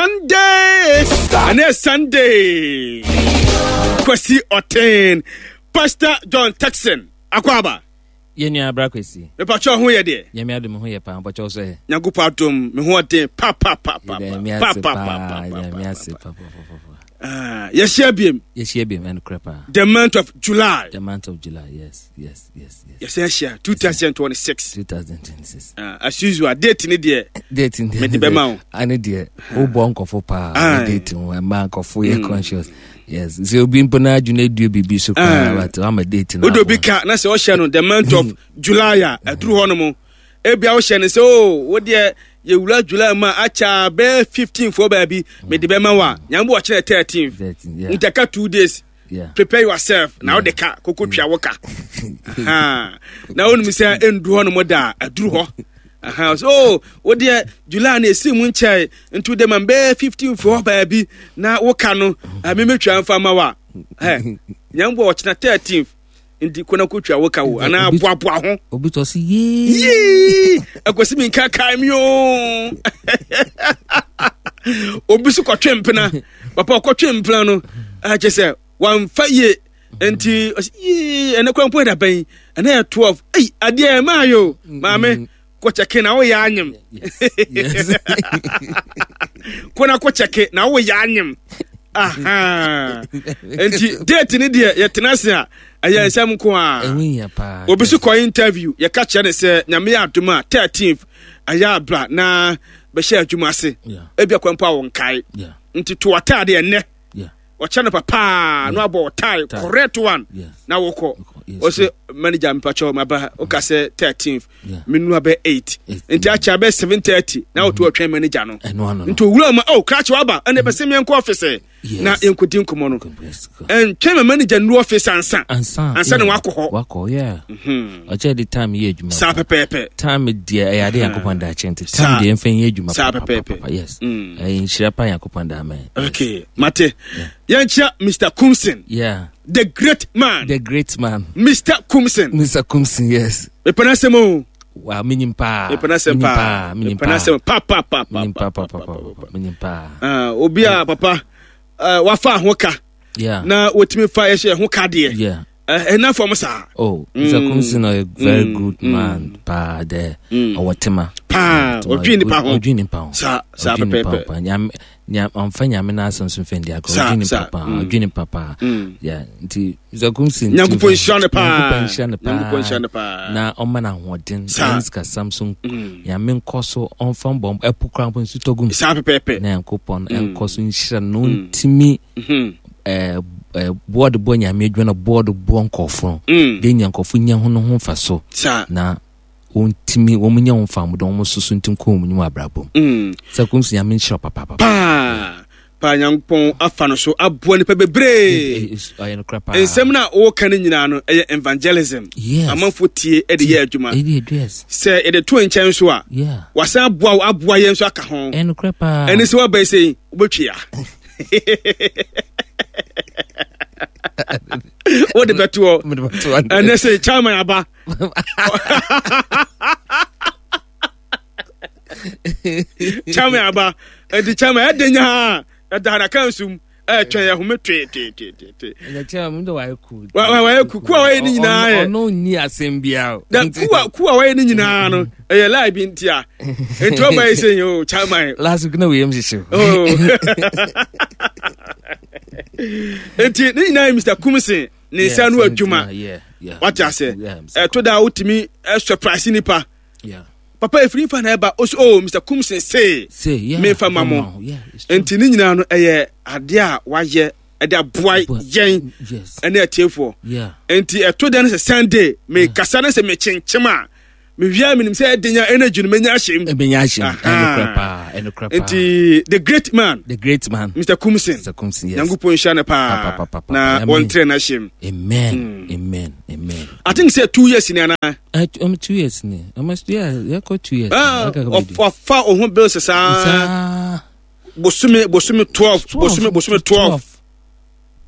Sunday. Ɛnɛ Sunday. Kwasi Ɔten. Pastor John Texan. Akwaaba. Yɛn nua abra Kwasi. Mepakyɛ ho yɛ deɛ. Nyame adom ho yɛ paa mpakyɛ so ɛ. Nyankopɔn adom me ho ɔden pa pa pa pa pa pa pa pa. Nyame ase pa pa pa pa. Ah, yɛhyia biem. Yɛhyia biem ɛnokorɛ paa. The month of July. The month of July, yes, yes, yes, yes. Yɛsɛ ahyia 2026. 2026. Uh, as usual, date ni deɛ. Date ni deɛ. Mede bɛma wo. Ane deɛ, wobɔ nkɔfo paa. Ah. Date ho, ɛma nkɔfo yɛ mm. conscious. Yes, sɛ obi mpo na adwene adue biribi so koraa, but wama date no. Wode obi ka na sɛ ɔhyɛ no the month of July a, aduru hɔ no mo. Ebia wohyɛ no sɛ o, oh, wo deɛ yɛwura July mu a akyɛ bɛyɛ 15 foɔ baabi, mede bɛma wo a, nyame bɔ ɔkyerɛ 13. Nti aka 2 days. Yeah. Prepare yourself. Na wode ka, koko tua wo ka. Na wonim sɛ ɛndu hɔ no mo da a, aduru hɔ. Aha, so oh, wo deɛ July na ɛsi mu nkyɛe, nti wode ma bɛyɛ 15 foɔ baabi na woka no, memɛtwa mfa ma wo a. Nyame bɔ ɔkyena 13. Nti kɔ na kɔtwa wo ka wo anaa boaboa ho. Obi tɔ so yee. Yee! Akwasi mi nka kae mi oo. Obi so kɔtwe mpena. Papa ɔkɔtwe mpena no akyɛ sɛ wamfa yie. Nti ɔsi yee ɛnɛ kwan mpo yɛ dabɛn ɛnɛ yɛ 12. Ei adeɛ ɛmaa yo maame kɔkyɛke na woyɛ anyem. Kɔ na kɔkyɛke na woyɛ anyem. Aha. Nti date ni deɛ yɛtena ase a ɛyɛ nsɛm nko a. Obi so kɔ interview yɛka kyerɛ ne sɛ nyame yɛ adom a 13th ɛyɛ abra na bɛhyɛ adwuma ase. Ebi akwan mpo a wɔnkae. Nti to ataade ɛnnɛ. Ɔkyɛ no papaa na wabɔ ɔtae correct one na wokɔ. Ɔsɛ manager mpakyɛw maba woka sɛ 13th menua bɛ 8 nti akyɛ bɛ 7:30 na woto ɔtwɛn manager no. Nti owura mu oh krakye waba ɛna bɛsɛ meɛnkɔ office na yɛnkɔdi nkɔmmɔ no. Ɛntwɛn ma manager nnu office ansa. Ansa na wakɔ hɔ. Wakɔ yeah. Ɔkyɛ de time yɛ adwuma. Saa pɛpɛɛpɛ. Time deɛ ɛyɛ ade Nyankopɔn da akyɛ nti time deɛ mfa nyɛ adwuma. Saa pɛpɛɛpɛ. Yes. Ɛyɛ nhyira pa Nyankopɔn da ama. Okay, mate. Yɛnkyia Mr. Kumsin. Yeah. The great man. The great man. Mr. Kumsin. Mr. Kumsin, yes. Mepɛ n'asɛm o. Wa menyim paa. Mepɛ n'asɛm paa. Menyim paa. Mepɛ n'asɛm pa pa pa pa. Menyim paa pa pa pa. Menyim paa. Ah, obi a papa wafa ho ka. Yeah. Na wotumi fa yɛhyɛ ho ka deɛ. Yeah. Ɛna fam saa. Oh, Mr. Kumsin a very good man paa dɛ ɔwɔ tema. Paa, ɔdwen nipa ho. Ɔdwen nipa ho. Saa, saa pɛpɛɛpɛ. Nyame, nyame, ɔmfa nyame n'asɛm so mfa ndi agorɔ. Ɔdwen nipa paa, ɔdwen nipa paa. Yeah, nti Mr. Kumsin. Nyankopɔn nhyira no paa. Nyankopɔn nhyira no paa. Nyankopɔn nhyira no paa. Na ɔma no ahoɔden. Saa. Ɛne sikasɛm so. Nyame nkɔ so ɔmfa mbɔ ɛpo koraa mpo nsu tɔ gu mu. Saa pɛpɛɛpɛ. Na Nyankopɔn nkɔ so nhyira no na ɔntumi boɔ de bɔ nyame adwuma na boɔ de boɔ nkɔɔfo no de nya nkɔɔfo nya ho no ho mfa so na wɔntumi wɔn nya ho mfa mu de wɔn soso nti nkɔ wɔn nnwuma abrabɔ mu sɛ kɔm si nyame nhyira papa paa paa nyankopɔn afa no so aboa nipa bebree nsɛm no a wɔka no nyinaa no ɛyɛ evangelism amanfoɔ tie de yɛ adwuma sɛ yɛde to nkyɛn so a wasan aboa aboa yɛn nso aka ho ɛne sɛ woaba sɛ wobɛtwea wode bɛtoɔ ɛnɛ sɛ chairman aba chairman aba nti chairman ɛde nyaa ɛda na ka nsum ɛtwɛn yɛ home tweetweetwee wayɛ ku ku a wayɛ ne nyinaa yɛ ɔno nni asɛm biara da ku a ku a wayɛ ne nyinaa no ɛyɛ lie bi nti a nti ɔba yi sɛ yɛ o chairman last week na wei yam hyehye oh nti ne nyinaa yɛ Mr. Kumsin ne nsa no adwuma wate ase ɛto da wotumi surprise nipa papa efiri nfa na ɛba ɔsɛ oh Mr. Kumsin see mefa ma mo nti ne nyinaa no ɛyɛ adeɛ a wayɛ ɛde aboa yɛn ɛne atiefoɔ nti ɛto da no sɛ Sunday mekasa no sɛ mekyenkyem a mewia menim sɛ ɛde nya energy no menya ahyɛm menya ahyɛm ɛnokorɛ paa ɛnokorɛ paa nti the great man the great man Mr. Kumsin Mr. Kumsin yes nyankopɔn nhyira no paa na wɔntrɛ no ahyɛm amen amen amen I think sɛ 2 years ni anaa 2 years ni almost yeah yɛkɔ 2 years ɔfa wo ho bills saa bosome bosome 12 bosome bosome 12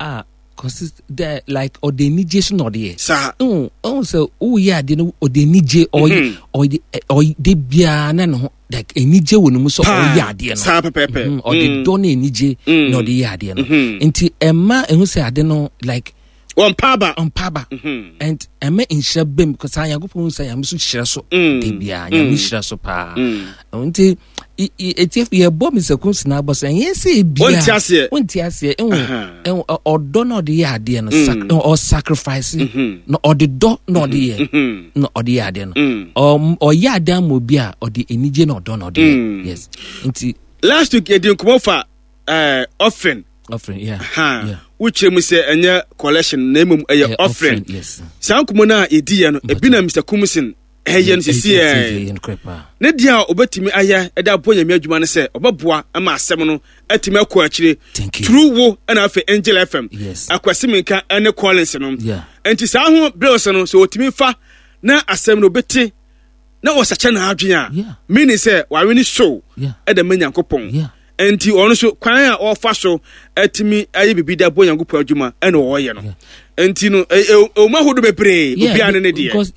ah. Consist dɛ like ɔde anigye so na ɔde yɛ. Saa. Ɛhu ɛhu sɛ woyɛ adeɛ no ɔde anigye ɔyɛ mhm. ɔyɛ ɔyɛ de biara na ne ho like anigye wɔ ne mu sɛ ɔyɛ adeɛ no. Saa pɛpɛɛpɛ. Mhm, ɔde mm. dɔ ne anigye mm. na ɔde yɛ adeɛ no. Mhm. Nti ɛma ɛhu sɛ ade no like. Wɔn aba. Ɔmpa aba. And ɛmɛ nhyira bɛm because Nyankopɔn sɛ Nyame so hyira so. De biara Nyame hyira so paa. Nti. Etiefo yɛbɔ Mr. Kumsi n'abɔ sɛ ɛnyɛ sɛ ebia wonte aseɛ wonte aseɛ ɛwɔ ɔdɔ na ɔde yɛ adeɛ no mm. ɔsacrifice mm-hmm. na ɔde dɔ na ɔde yɛ mm-hmm. na ɔde yɛ adeɛ no mm. ɔyɛ adeɛ ama obi a ɔde anigye na ɔdɔ na ɔde yɛ mm. yes nti. Last week yɛdi nkɔmɔ fa eh, offering. Offering yeah. Ha yeah. Wokyerɛ mu sɛ ɛnyɛ collection na mmom ɛyɛ offering. Yes. Saa nkɔmɔ no a yɛdi yɛ no ebi na Mr. Kumsin ɛyɛ no sisi ɛ ne deɛ a ɔbɛtumi ayɛ ɛde aboa nyame adwuma no sɛ ɔbɛboa ma asɛm no atumi akɔ akyire through wo ɛna afei Angel FM Akwasi Minka ɛne Collins no nti saa ho bills no sɛ ɔtumi fa na asɛm no ɔbɛte na ɔsakyɛ n'adwene a meaning sɛ wawe ne soul ɛde ma Nyankopɔn nti ɔno nso kwan a ɔfa so atumi ayɛ biribi de abɔ Nyankopɔn adwuma ɛna ɔyɛ no nti no ɛwɔ mu ahodoɔ bebree obiara ne ne deɛ. Because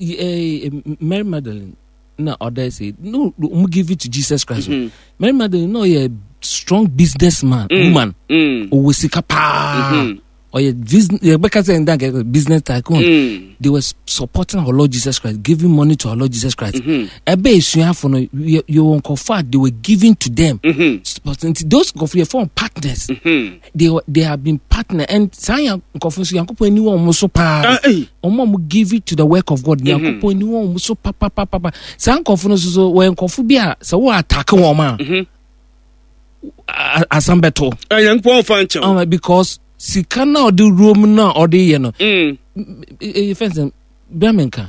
Mary Magdalene na ɔda sɛ no wɔn give it to Jesus Christ mm -hmm. Mary Magdalene na ɔyɛ strong businessman woman ɔwɔ sika paa. Mm -hmm ɔyɛ business yɛbɛka sɛ ndan kɛkɛ business tycoon mm. They were supporting our Lord Jesus Christ, giving money to our Lord Jesus Christ. Ɛbɛ esuafo no yɛ wɔ nkɔfo a they were giving to them. Supporting those nkɔfo yɛ form partners. They have been partner and saa yɛ nkɔfo nso yankopɔn ani wɔ wɔn so paa. Wɔn a wɔn give it to the work of God yankopɔn ani wɔ wɔn so papapapa. Saa nkɔfo no nso so wɔyɛ nkɔfo bi a sɛ wɔ attack wɔn a. Asɛm bɛto. Nyankopɔn fa nkyɛw. Because sika na ɔde ruom na ɔde yɛ no. Ɛyɛ fɛn sɛ bia mi nka.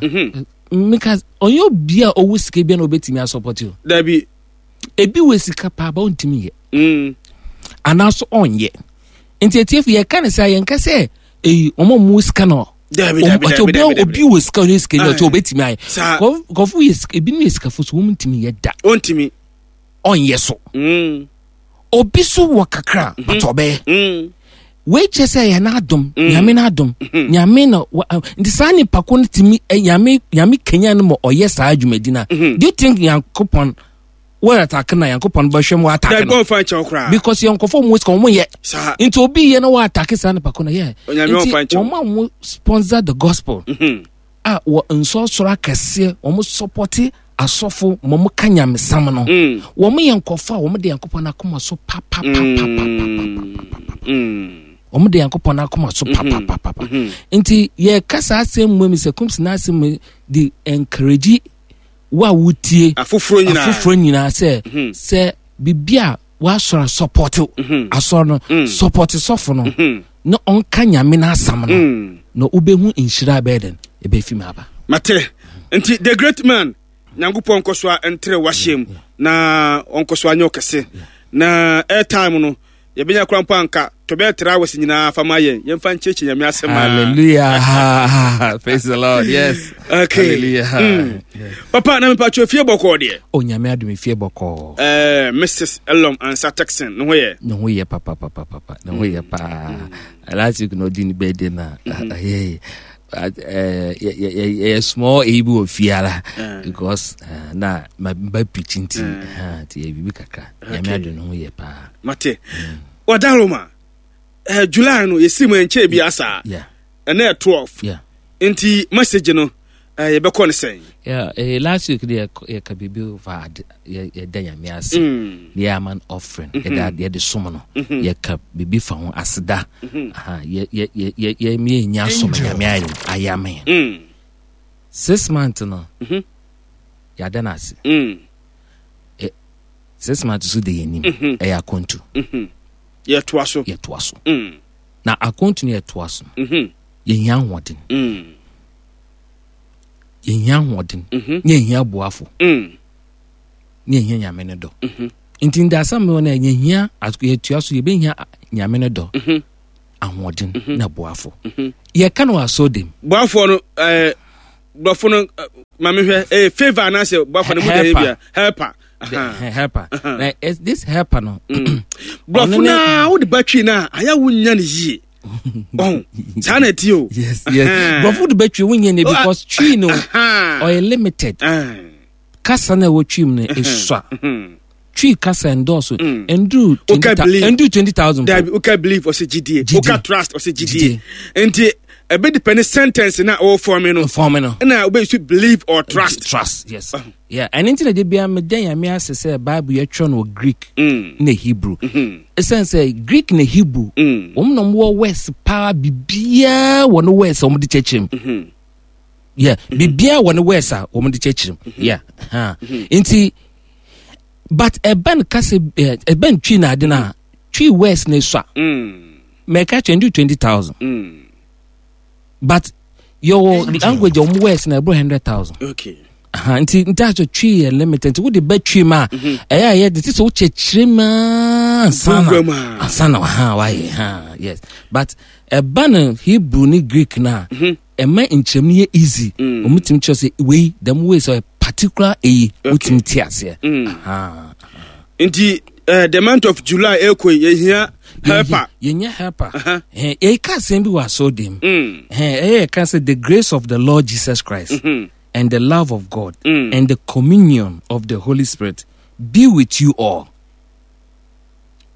Meka ɔnyɛ obi a ɔwɔ sika bi na ɔbɛtumi asɔpɔte o. Dabi. Ebi wɔ sika paa ba ɔntumi yɛ. Anaasɔ ɔnyɛ. Nti etiefo yɛ ka ne sɛ yɛn ka sɛ eyi wɔn a wɔn sika no. Dabi dabi dabi dabi. Obi wɔ sika ɔnyɛ sika ni ɔkyɛ ɔbɛtumi ayɛ. Kɔfo yɛ sika ebinom yɛ sikafo so wɔn ntumi yɛ da. Ɔntumi. Ɔnyɛ so. Obi so wɔ kakra mm-hmm. but ɔbɛyɛ wei kyerɛ sɛ yɛ n'adom mm. Nyame n'adom mm-hmm. Nyame na nti saa nipa ko no tumi nyame nyame kenya no ma ɔyɛ saa dwumadi no a mm-hmm. Do you think Nyankopɔn wɔyɛ atake na Nyankopɔn bɛhwɛ mu atake no because yɛn nkɔfo mu sika wɔn yɛ nti obi yɛ na wɔ atake saa nipa ko no yɛ nti wɔn a wɔn sponsor the gospel a wɔ nsɔsɔrɔ akɛseɛ wɔn sɔpɔte asɔfo ma wɔn ka nyamesam no mm. Wɔn yɛ nkɔfo a wɔn de Nyankopɔn akoma so papapapapapapa mm. Wɔn de Nyankopɔn akoma so mm-hmm. papapapapa mm-hmm. Nti yɛka saa asɛm mu mi sɛ kumsi n'asɛm mu de encourage wo a wotie afoforɔ nyinaa afoforɔ nyinaa sɛ mm-hmm. sɛ biribi a wasɔrɔ asɔpɔte asɔrɔ no mm. sɔpɔte sɔfo no na ɔnka Nyame n'asɛm no mm. na wobɛhu nhyira bɛyɛ dɛn ɛbɛfi mu aba. Mate. Nti the great man Nyankopɔn nkɔ so a ntere wahyɛ mu na ɔnkɔ so anyɛ ɔkɛse na airtime no yɛbɛnya kora mpo anka to bɛyɛ 3 hours nyinaa fa ma yɛn yɛmfa nkyerɛkyerɛ Nyame asɛm. Hallelujah, praise the Lord, yes. Okay. Hallelujah. Papa na mepatwɛ fie bɔkɔɔ deɛ? Oh, Nyame adom, fie bɔkɔɔ. Mrs Elom Ansa Texan ne ho yɛ? Ne ho yɛ papapapapa, ne ho yɛ paa. Last week na ɔdi ne birthday na yɛ yɛ small eyi bi wɔ fie ara because na ma ba preach nti nti yɛ biribi kakra. Nyame adom, ne ho yɛ paa. Mate. Wadaroma July no yɛsi mu ɛnkyɛɛ bi asa ɛnɛ yɛ 12 nti message no yɛbɛkɔ no sɛn? Yeah, last week de yɛka biribi fa yɛda Nyame ase mm. Ne yɛ ama no offering mm-hmm. Yɛda yɛde som no mm-hmm. Yɛka biribi fa ho aseda mm-hmm. Yɛnya som Nyame ayɛ ayɛ ama yɛn 6 months no yɛada no ase. 6 months so de yɛnim ɛyɛ akɔntu. Yɛtoa so. Yɛtoa so na akɔntu no yɛtoa so no yɛhia ahoɔden, yɛhia ahoɔden ne yɛhia boafo ne yɛhia Nyame no dɔ. Nti ndasɛm no na yɛhia yɛtua so yɛbɛhia Nyame no dɔ, ahoɔden na boafo. Yɛka no wɔ asɔre dem. Boafoɔ no borɔfo no ma mehwɛ ɛyɛ favour anaasɛ boafoɔ no mu deɛ bia helper. Helper na this helper no borɔfo no a wode ba twi no a ayɛ wo nya no yie. Ɔn saa na ɛte o. Yes, borɔfo de bɛtwi wonyɛ ne because twi no ɔyɛ limited. Kasa na ɛwɔ twi mu no esua. Twi kasa ndɔɔso. Nduru 20,000. Dabi, woka believe, ɔsɛ gyidie. Woka trust, ɔsɛ gyidie. Nti ɛbɛ depend sentence na ɔwɔ fɔmi no. Fɔmi no. Ɛna wobɛ use believe or trust. Trust, yes. Yeah, ɛno nti na de bia meda Nyame ase sɛ Bible yɛtwerɛ no wɔ Greek na Hebrew. Ɛsiane sɛ Greek na Hebrew, wɔn na wɔwɔ words paa, biribiara wɔ no words a wɔde kyerɛkyerɛ mu. Yeah, biribiara wɔ no words a wɔde kyerɛkyerɛ mu. Yeah, ha. Nti, but ɛbɛn kasa, ɛbɛn Twi na ade na Twi words na esua. Mɛka kyerɛ ndu 20,000. But yɛwɔ language a wɔn words na ɛboro 100,000. Nti asɛ Twi yɛ limited, nti wode bɛ Twi mu a, ɛyɛ a yɛ de ti sɛ wokyerɛkyerɛ mu ansa na ansa na ha wayɛ ha, yes, but ɛba no Hebrew ne Greek na ɛma nkyerɛmu no yɛ easy. Wɔn tumi kyerɛ sɛ wei dɛm wei sɛ ɔyɛ particular eyi, wotumi te aseɛ. Nti the month of July ɛkɔ yi, yɛhia helper. Yɛnyɛ helper. Yɛka asɛm bi wɔ asɔɔdan mu. Ɛyɛ yɛka sɛ the grace of the Lord Jesus Christ and the love of God and the communion of the Holy Spirit be with you all.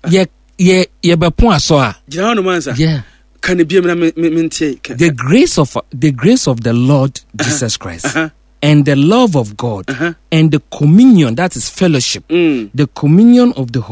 Yɛ yɛ yɛbɛpo asɔ a. Gyina hɔ nom ansa. Yeah. Ka ne biem na me me ntie. The grace of the Lord Jesus Christ and the love of God and the communion, that is fellowship, the communion of the